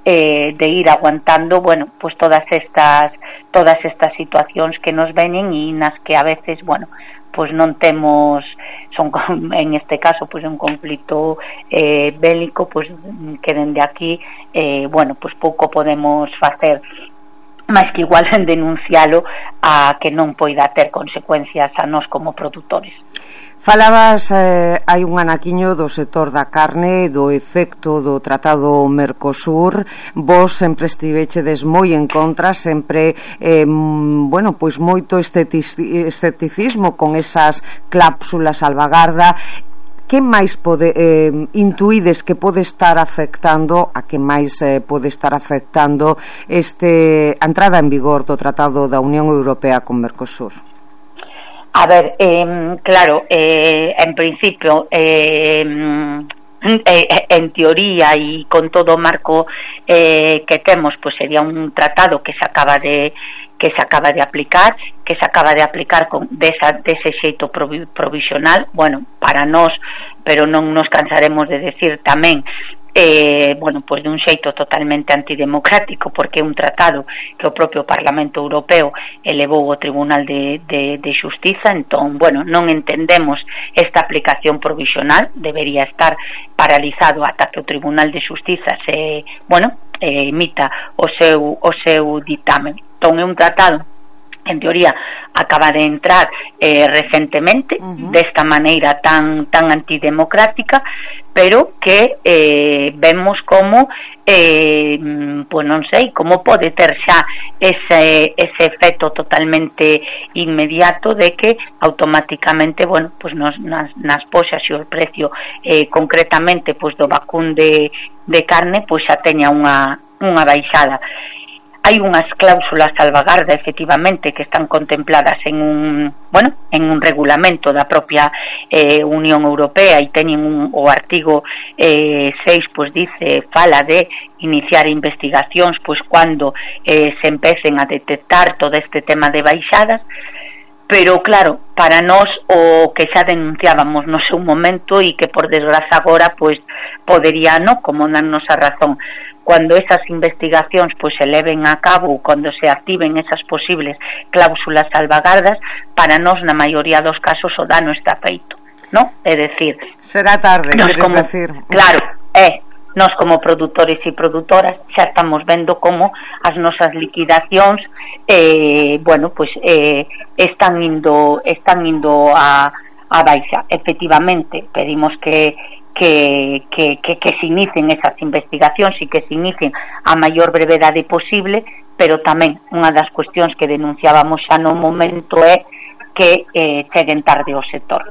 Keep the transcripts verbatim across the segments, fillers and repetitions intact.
eh, de ir aguantando, bueno, pues todas estas todas estas situacións que nos venen e nas que a veces, bueno, pues non temos, son en este caso pues un conflito eh, bélico, pues que dende aquí eh, bueno, pues pouco podemos facer máis que igual en denuncialo a que non poida ter consecuencias a nós como produtores. Falabas eh, hai un anaquiño do sector da carne, do efecto do Tratado Mercosur. Vos sempre estivechedes moi en contra, sempre eh, bueno, pois moito escepticismo con esas cláusulas salvagarda. Que máis pode, eh, intuídes que pode estar afectando, a que máis eh, pode estar afectando este a entrada en vigor do Tratado da Unión Europea con Mercosur? A ver, eh, claro, eh, en principio, eh, eh, en teoría y con todo o marco eh, que temos, pues sería un tratado que se acaba de que se acaba de aplicar, que se acaba de aplicar con desa, dese xeito provisional, bueno, para nós, pero non nos cansaremos de decir tamén, eh, bueno, pues de un xeito totalmente antidemocrático, porque é un tratado que o propio Parlamento Europeo elevou ao Tribunal de, de, de Xustiza. Entón, bueno, non entendemos esta aplicación provisional, debería estar paralizado ata que o Tribunal de Xustiza se, bueno, eh, emita o seu, o seu ditamen. Entón, é un tratado en teoría acaba de entrar eh, recentemente, uh-huh. desta maneira tan tan antidemocrática, pero que eh, vemos como eh, pues non sei, como pode ter xa ese, ese efecto totalmente inmediato de que automáticamente, bueno, pues nos, nas, nas poxas e o precio eh, concretamente pues do vacún de, de carne pues xa teña unha, unha baixada. Hai unhas cláusulas salvagarda efectivamente que están contempladas en un, bueno, en un regulamento da propia eh, Unión Europea e teñen un, o artigo eh, seis, pois dice, fala de iniciar investigacións pois cando eh, se empecen a detectar todo este tema de baixadas, pero claro, para nós o que xa denunciábamos no seu momento e que por desgraza agora pois podería, no, como darnos a razón, cuando esas investigacións pois se leven a cabo, cando se activen esas posibles cláusulas salvagardas, para nós na maioría dos casos o dano está feito, ¿no? É decir, será tarde, queres como, decir. Claro, é, nós como produtores e produtoras xa estamos vendo como as nosas liquidacións eh, bueno, pois eh, están indo están indo a, a baixa. Efectivamente, pedimos que Que, que, que, que se inicien esas investigacións e que se inicien a maior brevedade posible, pero tamén unha das cuestións que denunciábamos xa no momento é que eh, cheguen tarde ao sector.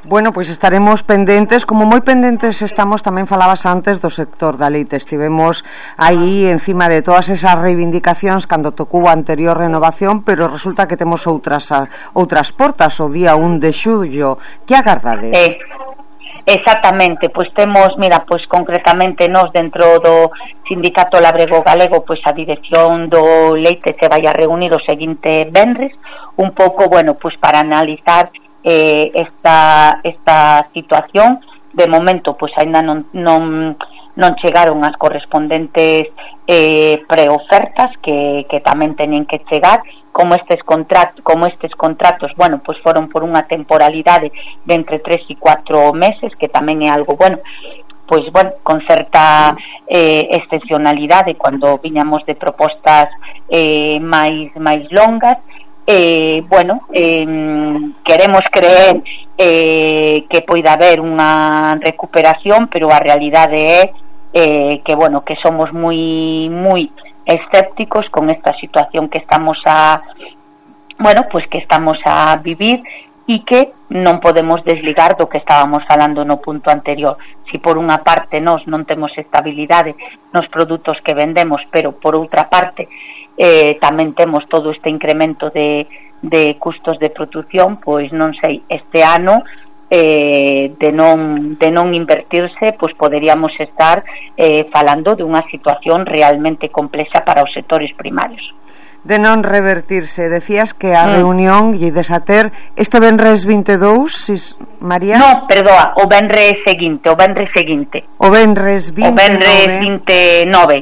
Bueno, pois estaremos pendentes, como moi pendentes estamos, tamén falabas antes do sector da leite, estivemos aí encima de todas esas reivindicacións cando tocou a anterior renovación, pero resulta que temos outras outras portas o día un de xullo. Que agardades? Eh, Exactamente, pois temos, mira, pois concretamente nós dentro do Sindicato Labrego Galego, pois a dirección do leite se vai a reunir o seguinte venres, un pouco, bueno, pois para analizar eh, esta esta situación. De momento, pois aínda non non non chegaron as correspondentes eh, preofertas que, que tamén teñen que chegar. Como estes contratos, como estes contratos, bueno, pues foron por unha temporalidade de entre tres e cuatro meses, que tamén é algo, bueno, pois bueno, con certa eh, excepcionalidade cando viñamos de propostas eh, máis máis longas. Eh, bueno, eh, queremos creer eh, que poida haber unha recuperación, pero a realidade é eh, que, bueno, que somos moi moi escépticos con esta situación que estamos a bueno, pues que estamos a vivir e que non podemos desligar do que estábamos falando no punto anterior. Si por unha parte nós non temos estabilidade nos produtos que vendemos, pero por outra parte eh, tamén temos todo este incremento de, de custos de produción, pois non sei, este ano Eh, de non de non invertirse, pois poderíamos estar eh, falando de unha situación realmente complexa para os sectores primarios. De non revertirse, decías que a mm. reunión lle desater este venres vinte e dous, sis, María? No, perdoa, o venres seguinte, o venres seguinte. O venres vinte e nove. O venres vinte e nove,